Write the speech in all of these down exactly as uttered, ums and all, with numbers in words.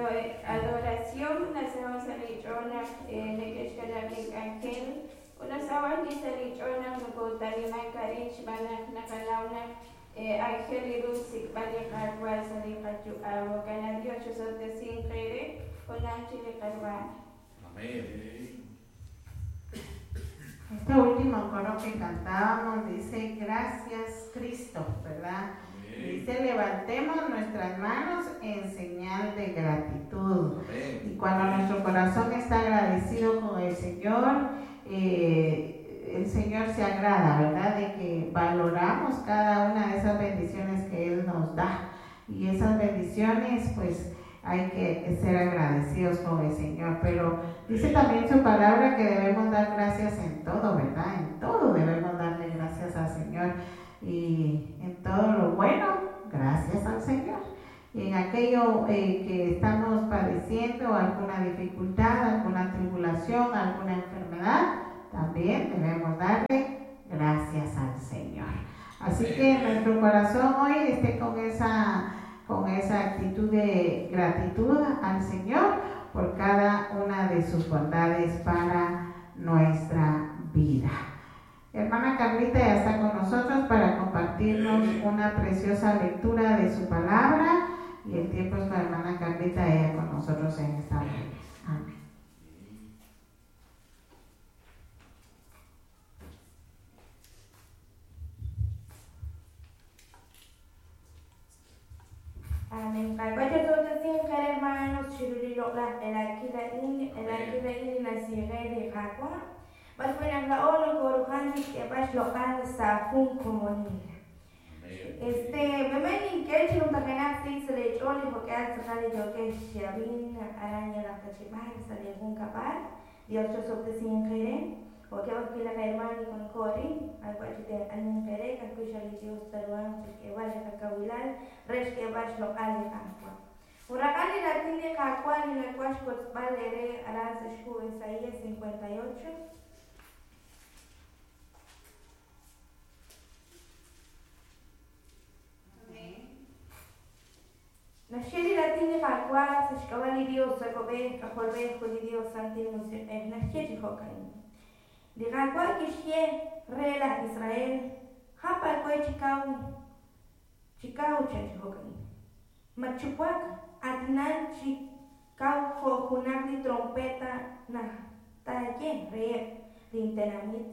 Adoración nasaho' sa' li ch'ool naq neke'xkanab' li k'anjel ut nasaho' ajwi' sa' li ch'ool naq nokotanimank arin xb'aan naq naqanaw naq aajel ru xsik'b'al li Qaawa' sa' li qayu'am. Jo'kan Dios chisob'tesinq eere junaj chi li qarwa'. Amén. Este último coro que cantábamos dice, gracias Cristo, ¿verdad? Dice, levantemos nuestras manos en señal de gratitud. Amén. Y cuando nuestro corazón está agradecido con el Señor, eh, el Señor se agrada, ¿verdad? De que valoramos cada una de esas bendiciones que Él nos da. Y esas bendiciones, pues, hay que ser agradecidos con el Señor. Pero dice también su palabra que debemos dar gracias en todo, ¿verdad? En todo debemos darle gracias al Señor. Y en todo lo bueno, gracias al Señor. Y en aquello eh, que estamos padeciendo, alguna dificultad, alguna tribulación, alguna enfermedad, también debemos darle gracias al Señor. Así que nuestro corazón hoy esté con esa, con esa actitud de gratitud al Señor por cada una de sus bondades para nuestra vida. Hermana Carlita ya está con nosotros para compartirnos una preciosa lectura de su palabra, y el tiempo es para hermana Carlita, ella con nosotros en esta mañana. Amén. Amén. Hermanos, Este, bemen inkel chilum takenak si se le choli porque al sale yo que shabin araña la tachibal sale un capal Dios yo soy sin querer o que va que la hermana con cori algo así de anin querer que escucha el Dios taruan que vale kakawilal res que vas local de Huracán y la tiene cacual y la cual valere aras escu Isaías cincuenta y ocho. Nasheli la tiene cacual se escabali Dios sacobe cajolbe juli Dios santi music nasheli jocain. De cacual que rela Israel japa cue chicau chicau chanchocain. Machucuac Adnan chikau jokunakli trompeta na taye re lintenamit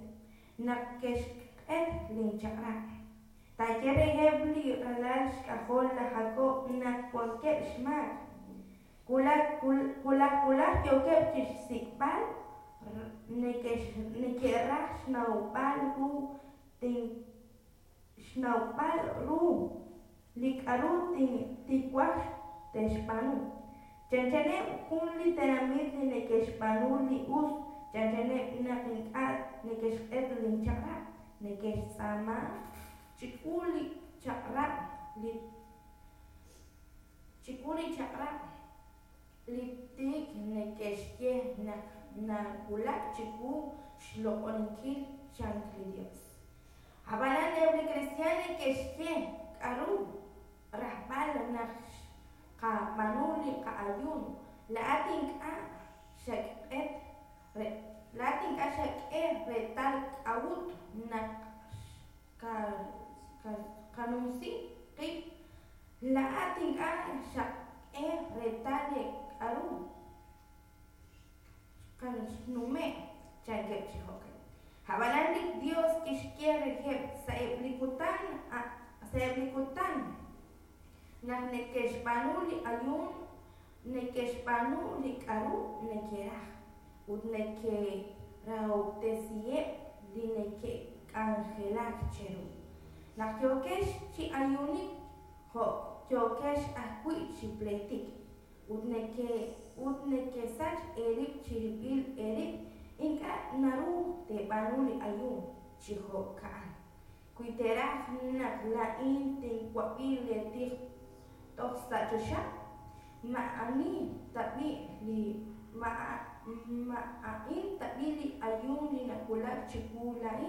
na keshket linchakra taye rehebli alash kahol la Jacob na cualquier shmak kulak kulak kulak yokep chisikbal nekesh nekerach shnaupal ru tin shnaupal ru likaru tin tikuach Teshpanu. Chanchane un literamit ni nekeshpanu li us. Chanchane nakinkat nekeshet linchakra. Nekesama chikuli chakra li chikuli chakra litik nekeshye nak nakulak chiku shlokonkil chankli Dios. Habalan ebli cristiane keshye karu rahbal nak ka manuli ka ayun laating a shak'et re laating a shak'et retal awut na ka kanumsi qi laating a shak'et retale aru kansnume chankep chihokan habalandik Dios kishkier jeb saeblikutan a saeblikutan Nak nekeshpanu li ayun, nekeshpanu li karu nekeraj, ut neke rautesiep li neke angelak cheru. Nak yokesh chi ayunik, ho yokesh akui chi pletik, ut neke ut neke sach erip chiripil erip, inka naru te panu li ayun, chi ho kaan. Kuiteraj nak la in tinkuapil le tij Toxachosha ma'ani tabi li ma'a ma'in tabi li ayun li nakulak chikulai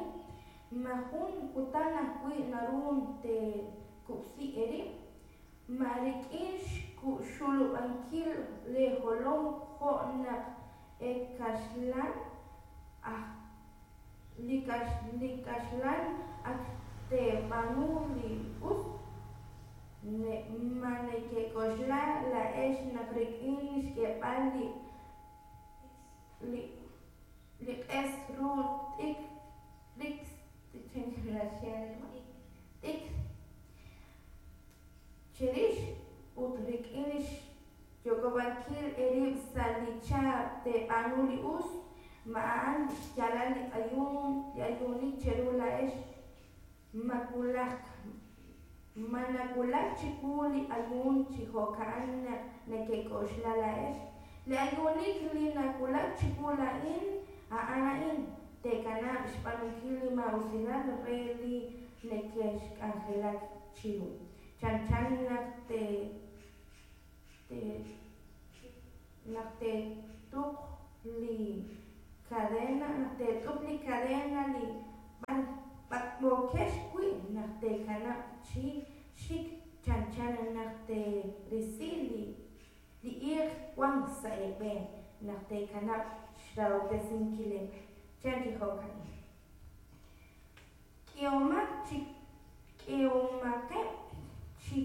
mahun kutana kui narun te kupsi eri Ma rik'in xulub'ankil leejolom jo' naq eb' aj li kaxlan ak teeb'aanu li us? Ma nekek'oxla laa'ex naq rik'in xk'eeb'al li li q'es ru t'ikr cherix ut rik'in xyok'ob'ankil eerib' sa' li cha teeb'aanu li us? Ma a'an xyaalal li ayuunik cheru laa'ex? Ma nawulak chiwu li ayuun chi jo'ka'an naq nekek'oxla laa'ex? Li ayuunik li nawulak chiwu laa'in a'an a'in: teekanab' xb'aanunkil li maa'usilal re li nekexk'anjelak chiru, chanchan naq teetuq li cadena li b'ak'b'ookex wi', naq teekanab' chi xik chanchan naq teerisi li iiq wank sa' eeb'een, naq teekanab' xrahob'tesinkileb'. Chan chi jo'ka'in. K'ehomaqeb' chi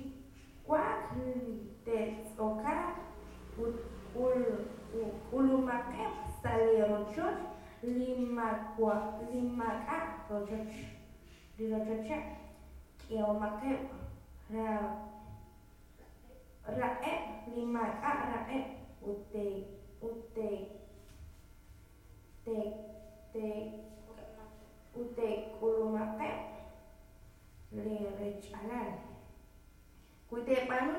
wa'ak li te'tz'okaaq ut k'ulumaqeb' sa' lee rochoch li maak'a' rochocheb'. K'ehomaqeb' raq'eb' li maak'a' raq'eb' ut teek'ulumaqeb' lee rech-alal. Wi teeb'aanu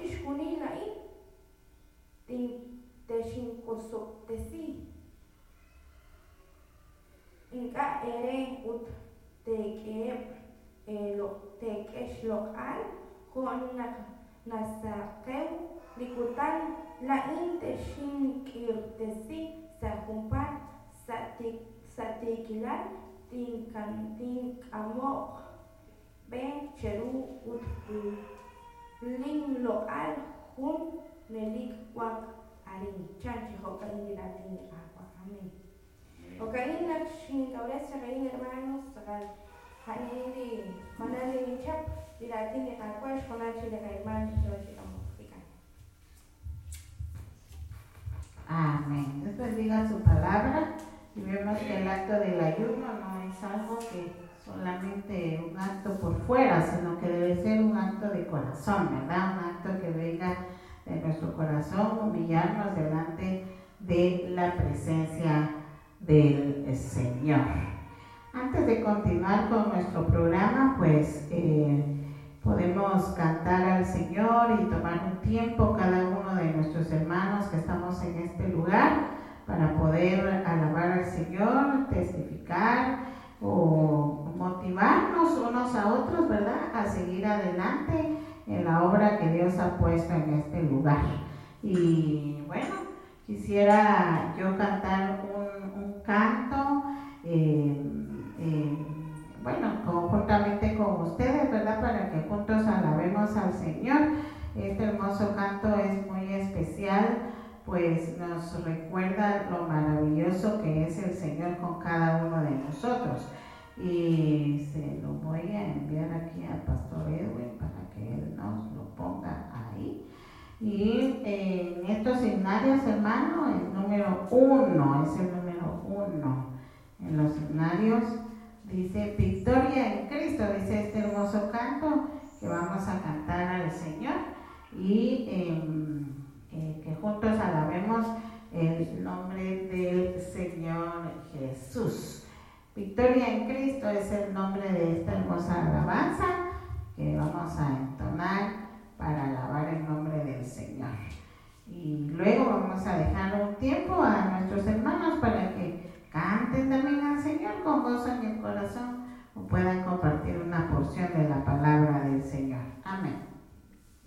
chixjunil a'in, texinwosob'tesi ink'a' eere ut teek'eheb' teek'e xloq'al jo' naq nasaqew li kutan. Laa'in texink'irtesi sa' junpaat, sa' tiikilal tink'amoq b'e cheru ut linloq'al junelik wanq arin. Chan chi jo'ka'in li raatin li Qaawa'. Amén. Jo'ka'in naq xinkawres chaq a'in, hermanos, ja'nin li jonal li ninchap li raatin li Qaawa' xjonal chi li qahermano yo chi k'amok rik'an. Amén. Dios bendiga su palabra. Y vemos que el acto del ayuno no es algo que solamente un acto por fuera, sino que debe ser un acto de corazón, ¿verdad? Un acto que venga de nuestro corazón, humillarnos delante de la presencia del Señor. Antes de continuar con nuestro programa, pues eh, podemos cantar al Señor y tomar un tiempo cada uno de nuestros hermanos que estamos en este lugar para poder alabar al Señor, testificar o motivarnos unos a otros, ¿verdad? A seguir adelante en la obra que Dios ha puesto en este lugar. Y bueno, quisiera yo cantar un, un canto, eh, eh, bueno, conjuntamente con ustedes, ¿verdad? Para que juntos alabemos al Señor. Este hermoso canto es muy especial, pues nos recuerda lo maravilloso que es el Señor con cada uno de nosotros. Y se lo voy a enviar aquí al Pastor Edwin para que él nos lo ponga ahí. Y en estos himnarios, hermano, el número uno, es el número uno. En los himnarios dice Victoria en Cristo, dice este hermoso canto que vamos a cantar al Señor y eh, eh, que juntos alabemos el nombre del Señor Jesús. Victoria en Cristo es el nombre de esta hermosa alabanza que vamos a entonar para alabar el nombre del Señor. Y luego vamos a dejar un tiempo a nuestros hermanos para que canten también al Señor con gozo en el corazón o puedan compartir una porción de la palabra del Señor. Amén.